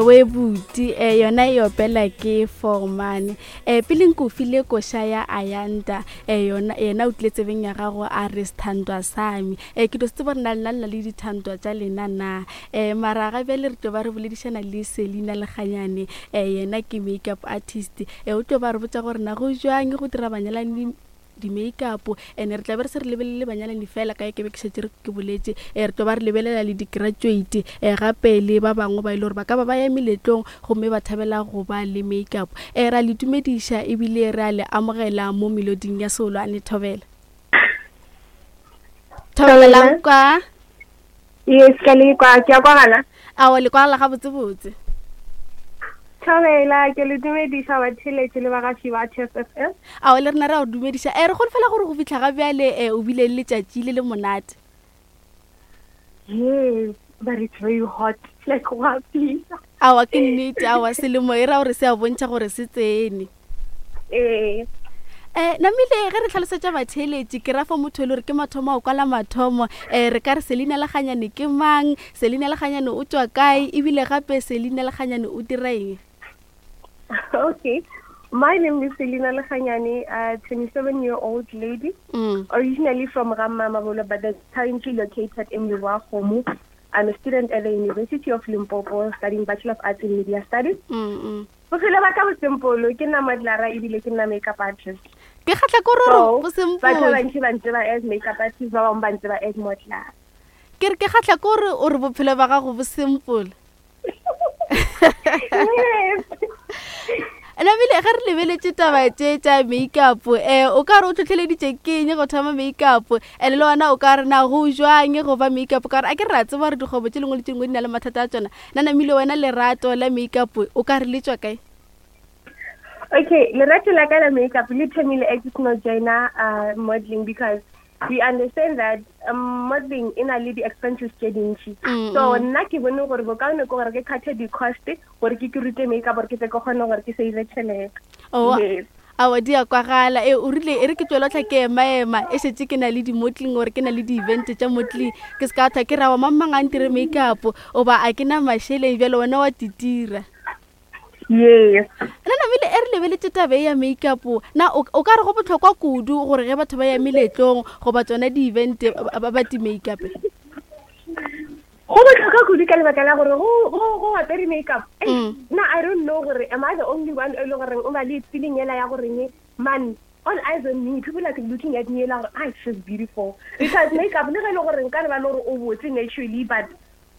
Ewe buti e yona e opela ke Forman. E pele nko file koša ya Ayanda e yona yena o tlile tsebeng ya gago a re sethandwa sami. E ke do se tseba gore na lena lena le dithandwa tša lena na. E mara ga bjale re tlo ba re boledišana le Selina Lekganyane e yena ke makeup artist. E o tlo ba re botša gore na go jwang go dira banyalani di-makeup and re tla be re se re lebelele banyalani fela ka ke be ke šetše re ke boletše um re tlo ba re lebelela le di-graduate um gape le ba bangwe ba e le gore ba ka ba ba ya meletlong gomme ba thabela go ba le makeup um ra le dumediša ebile re a le amogela mo meloding ya seolwane thobela thobela la kwa Yes, ke le kwa, ke a kwagala. Aowa, le kwagala gabotsebotse. Thobela, ke le dumediša batheeletši le bagaši ba Chess FM. Aowa, le rena re a go dumediša. Eh, re holofela gore go fihla ga bjale eh, o bile le letšatši le le monate. Yes, but it's very hot. Like, go a fisa. Aowa, ke nnete. Aowa, selemo e ra gore se a bontšha gore se tsene. Ee. Um namile ge re tlhalosetša batheeletši ke ra fa motho e le gore ke mathomo a o kwala mathomo um re ka re Selina Lekganyane ke mang, Selina Lekganyane o tšwa kae ebile gape Selina Lekganyane o dira eng? Okay. My name is Selina Lekganyane, a 27 year old lady, mm. originally from Ramamabolo, but currently located in Lebowakgomo. I'm a student at the University of Limpopo studying Bachelor of Arts in Media Studies. Mm -mm. Bophelo ba ka bo simple, ke nna modelara ebile ke nna makeup artist. Ke kgatla ko roro bo simple. Batho ba bantši ba ntseba as makeup artist, ba bangwe ba ntseba as modelara. Ke re ke kgatla ko re o re bophelo ba gago bo simple. Yes. Nabile ge re lebeletše taba tše tša makeup eh o ka re o tlhotlheleditše ke eng go thoma makeup and le wena o ka re na go jwang go ba makeup ka gore a ke re a tseba gore dikgwebo tše lengwe le tše dingwe di na le mathata a tsona Na namile wena lerato la makeup o ka re le tšwa kae? Okay, lerato la ka la makeup le thomile a ke seno joina uh, modeling because we understand that um, modeling e na le di-expenses tše dintši mm, so mm. nna ke bone gore bokaone ke gore ke cuthe di-cost gore ke ke rute makeup gore ke tle ke kgone gore ke save tšhelete oh, yes. Aowa di a kwagala. E, o rile e re ke tšwela tlha ke ema-ema e šetše ke na le di-modeling or ke na le di-event tša modeling ke se ka thwa ke ra wa mang mang a ntire makeup oba a ke na mašeleng bjale wena wa titira. Yes. Na namile e re lebeletše taba e ya makeup na o o ka re go bohlokwa kudu gore ge batho ba ya meletlong goba tsona di-event ba ba ti-makeup? Go botlhokwa kudu ka lebaka la gore go go go apere makeup. Mm. Na I don't know gore am I the only one e le goreng o ba le feeling ela ya goreng man all eyes on me people are looking at me ela gore ah she's beautiful because makeup le ge e le gore nka re ba le gore o botse naturally but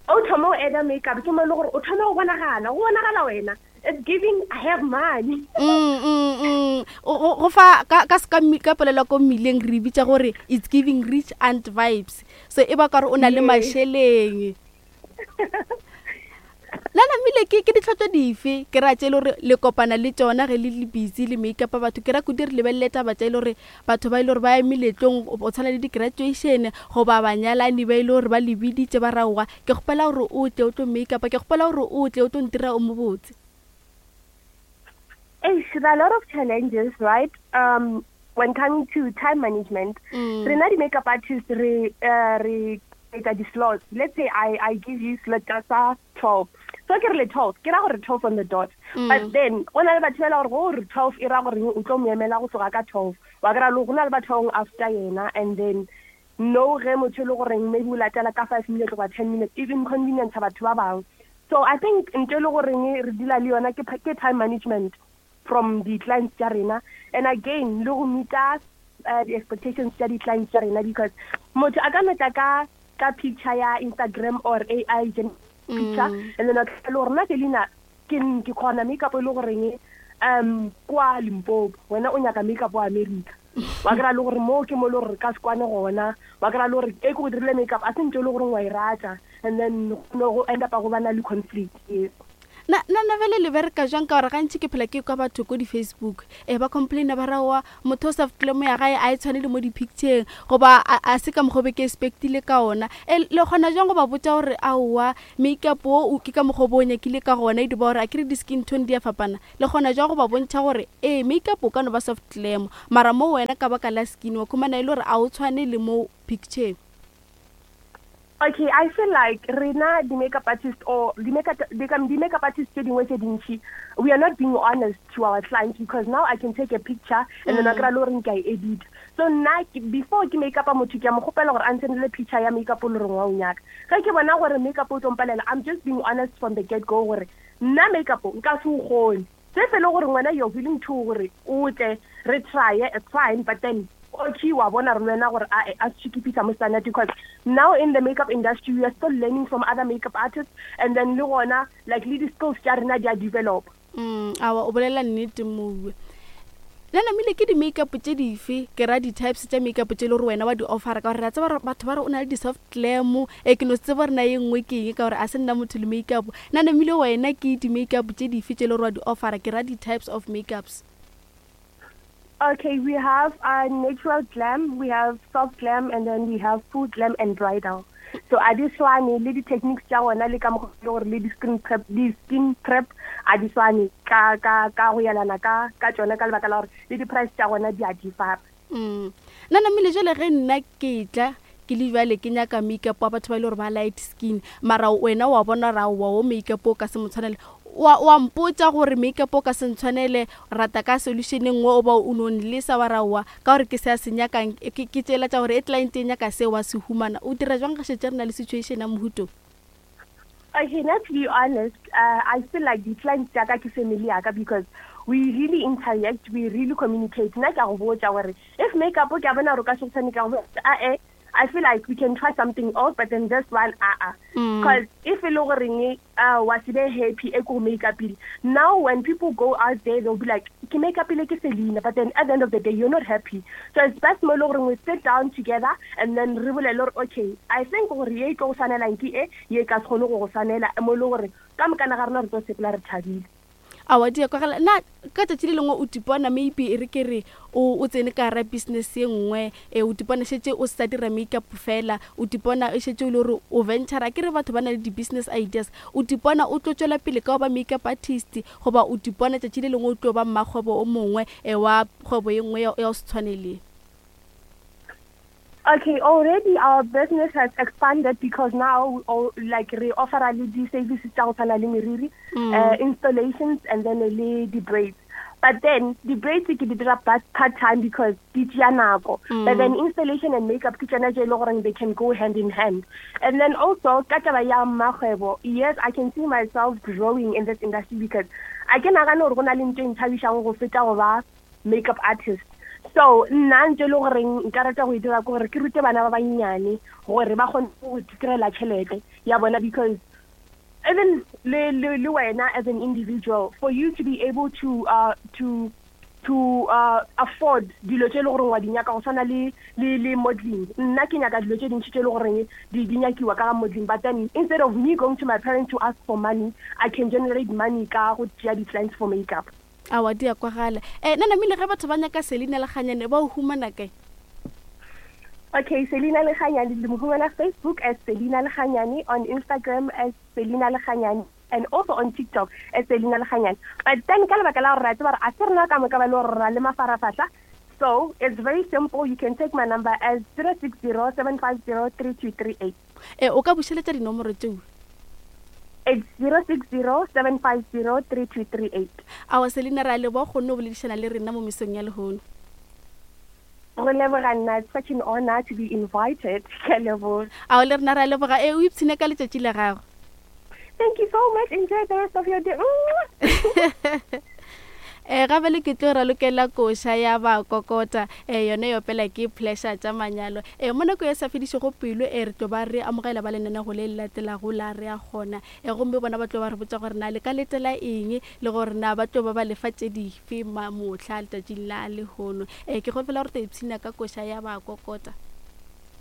o thoma o add makeup ke mo e le gore o thoma go bonagala go bonagala wena it's giving I have money mm, mm, mm. Go fa ka ka ka ka polelo ko mmileng re bitsa gore it's giving rich aunt vibes so e ba ka gore o na le mašeleng na namile ke ke ditlhotlo dife ke ra tše e le gore le kopana le tšona ge le le busy le make up batho ke ra kudu re lebelele taba tša e le gore batho ba e le gore ba ya meletlong o tshwana le di-graduation goba banyalani ba e le gore ba le biditše ba raowa ke kgopela gore o tle o tlo make up ke kgopela gore o tle o tlo ntira o mobotse. Eish, there are a lot of challenges, right? Um, when coming to time management, mm. rena di-makeup artist re uh, re etsa di-slots. Let's say I, I give you slot tsa 12. So ke re le 12, ke ra gore 12 on the dot. Mm. But then, go na le batho ba e gore go re 12 e ra gore o tlo mo emela go tloga ka 12. Wa kry-a le go na le batho ba bangwe after yena and then no ge motho e le goreng maybe o latela ka 5 minutes goba 10 minutes e inconvenience batho ba bangwe. So I think ntho e le goreng re deala le yona ke ke time management from di clients tša rena and again le go meeta uh, di expectations tša di clients tša rena because motho a ka no tla ka ka picture ya Instagram or AI picture mm. and then a tla le gore nna Selina ke ke kgona makeup e le goreng um kwa Limpopo wena o nyaka makeup wa America wa kry-a le gore moo ke mo le gore re ka se kwane gona wa kry-a le gore e ke go dirile makeup a se ntse e le goreng wa e rata and then go end up go bana le conflict yes. Na na na bjale le bereka jwang ka gore gantši ke phela ke kwa batho ko di-facebook e ba complaina ba raowa motho o sa fetile ya gae a e tshwane le mo di-pictureng goba a se ka mokgwa o be ke expectile ka ona e le kgona jwang go ba botša gore aowa makeup wo ke ka mokgwa o bo o nyakile ka gona e di ba gore a kere di-skin tone di a fapana Le kgona jwang go ba bontšha gore ee makeup o ka no ba soft glam mara mo wena ka baka la skin wa khumana e le gore a o tshwane le mo picture? Okay, I feel like rena di-makeup artist or di-makeup artist tse dingwe tse dintši, we are not being honest to our clients, because now I can take a picture and then a kry-a le gore ke a e edit. So nna before ke makeup motho, ke a mo kgopela gore a nsendele picture ya makeup o le reng wa o nyaka. Ge ke bona gore makeup o tlo mpalela, I'm just being honest from the get go gore nna makeup nka se o kgone. Se fe le gore ngwana you're willing to gore o tle re try, it's fine, but then okay, wa bona re wena gore a a se keep mo standard, because now in the makeup industry we are still learning from other makeup artists, and then le gona like le di-skills tša rena di a develop. Awa, o bolela nnete mowe. Le namile ke di-makeup tše dife, ke ra di-types tša makeup tše le gore wena wa di offera? Ka gore re a tseba gore batho ba re o na le di-soft glam, e ke no se tseba gore na ye nngwe ke eng, ka gore a se nna motho le makeup. Na namile wena ke di-makeup tše dife tše le gore wa di offera, ke ra di-types of makeups? Okay, we have a natural glam, we have soft glam, and then we have full glam and bridal. So a di swane le di-techniques tša gona, le ka mokgwa le gore le di-skin prep, di-skin prep a di swane ka go yelana ka tšona, ka lebaka la gore le di-price tša gona di a differ. Nna namile jale ge nna ke tla ke le bjale ke nyaka makeup wa batho ba ile gore ba light skin, mara wena wa bona ra wa o makeup o ka se mo tshwanele, wa mpotsa gore makeup o ka se ntshwanele, rata ka solution e nngwe, o ba o no nlesa wa ra wa ka gore ke se a se nyakang, ke tsela tša gore e client e nyaka se wa se humana. O dira jwang ga šetse re na le situation ya mohuto? Okay, now to be honest, I feel like the clients tša ka ke family ya ka, because we really interact, we really communicate. Nna ke a go botša gore if makeup ke a bona gore o ka se go tshwane, ke a go botša, "Ah, I feel like we can try something else, but then this one, ah ah." Because if e le goreng wa se be happy e ko make-upile, now when people go out there, they'll be like, "Ke make-upile ke Selina," but then at the end of the day you're not happy. So it's best mo e le goreng we sit down together and then re bolele gore, okay, I think gore ye e tlo go tshwanelang ke e, ye ka se kgone go go tshwanela, mo e le gore ka mokana ga rena re tlo sepela re thabile. Awa, di ya kwagala. Na ka tšatši le lengwe o tipona maybe e re ke re o tsene ka gara business ye nngwe, e o tipona šetse o sa dira makeup fela, o tipona e šetse o le gore o ventura, ke re batho ba na le di-business ideas, o tipona o tlo tswela pele ka go ba makeup artist, goba o tipona tšatši le lengwe o tlo ba mmakgwebo o mongwe, e wa kgwebo ye nngwe ya go se tshwane le? Okay, already our business has expanded because now, all, like, we offer le di-services tsa go tshwana le meriri, installations, and then le di-braids. But then the braids ke di dira part time because di tšea nako. But then installation and makeup ke tsona tše e le goreng they can go hand in hand. And then also ka taba ya mmakgwebo, yes, I can see myself growing in this industry because a ke nagane gore go na le ntho e nthabišang go feta go ba makeup artist. So nna ntse e le goreng nka rata go e dira ke gore ke rute bana ba bannyane gore ba kgone go itirela tšhelete ya bona, because even le wena as an individual, for you to be able to afford dilo tše e le goreng wa di nyaka go tshwana le modeling, nna ke nyaka dilo tše dintši tše e le goreng di nyakiwa ka ga modeling, but then instead of me going to my parents to ask for money, I can generate money ka go tšea di-clients for makeup. Awa, di ya kwagala. Nna namile ge batho ba nyaka Selina Lekganyane, ba o humana kae? Okay, Selina Lekganyane, le mo humana Facebook as Selina Lekganyane, on Instagram as Selina Lekganyane, and also on TikTok as Selina Lekganyane. But then ka lebaka la gore re a tseba gore a se rena ka moka ba le gore ra le mafarafahla, so it's very simple, you can take my number as 060 750 3238. O ka bušeletša dinomoro tšeo? It's 060 750 3238. Awa Selina, re a leboga kgonne o boledišana le rena mo mesong ya lehono. Go leboga nna, it's such an honor to be invited. Ke a leboga. Ao, le rena re a leboga, e o ipshine ka letšatši la gago. Thank you so much. Enjoy the rest of your day. Gabele ke tlo ralokela koša ya ba kokota, yone e opela ke Pleasure tša manyalo. Mo nako ya sa fedišego pelo, re tlo ba re amogela ba lenanego le le latelago la Re a Kgona, gomme bona ba tlo ba re botša gore na le ka letela eng le gore na ba tlo ba ba lefa tše dife mohla letšatšing la lehono. Ke kgopela gore to ipshina ka koša ya ba kokota.